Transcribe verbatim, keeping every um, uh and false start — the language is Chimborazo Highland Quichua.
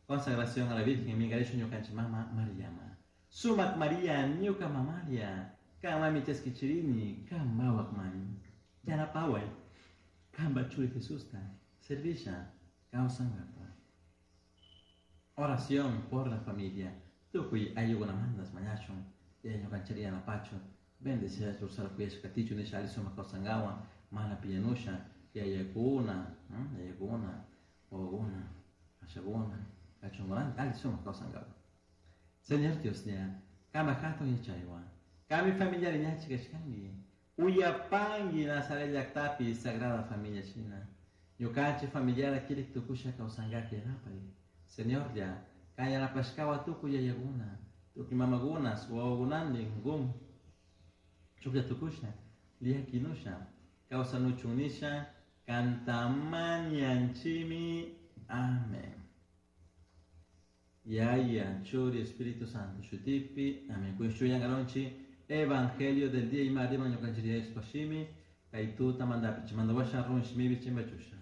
Consagración a la Virgen minkarishun ñukanchik mama Mariama. Sumak María ñuka mamaria. Kanmami chaskichirini kan mawakman. Yanapaway. Kanpa churi Jesusta. Servisha. Kawsankapa. Oración por la familia. Tukuy ayllukunamantas mañashun. Yaya ñukanchik yanapachun. Bendecida ursara kuyashka katichun nisha alli sumak kawsankawan mana piñanusha yayakuna, yayakuna, wawakuna, ashakuna, kachunkunantin alli sumak kawsankawan. Señor Dioslla, kanpak hatun yachaywan, kanmi familiari ñachi kashkanki, uyapanki Nazaret llaktapi Sagrada Familia shina, ñukanchik familiara kirik tukusha kawsankaka yanapay. Señorlla, kan yanapashkawan tukuy yayakuna, tukuy mamakuna, wawakunantin gum chuklla tukusha, llakinusha, kawsanuchun nisha, kanta mañanchimi. Amén. Yaya, Churi, Espíritu Santo, Shutipi, Amén. Kushuyang Evangelio del día y María, ñukanchik Shimi, kay tuta mandapi, chimanda washa run shimibi chimbachusha.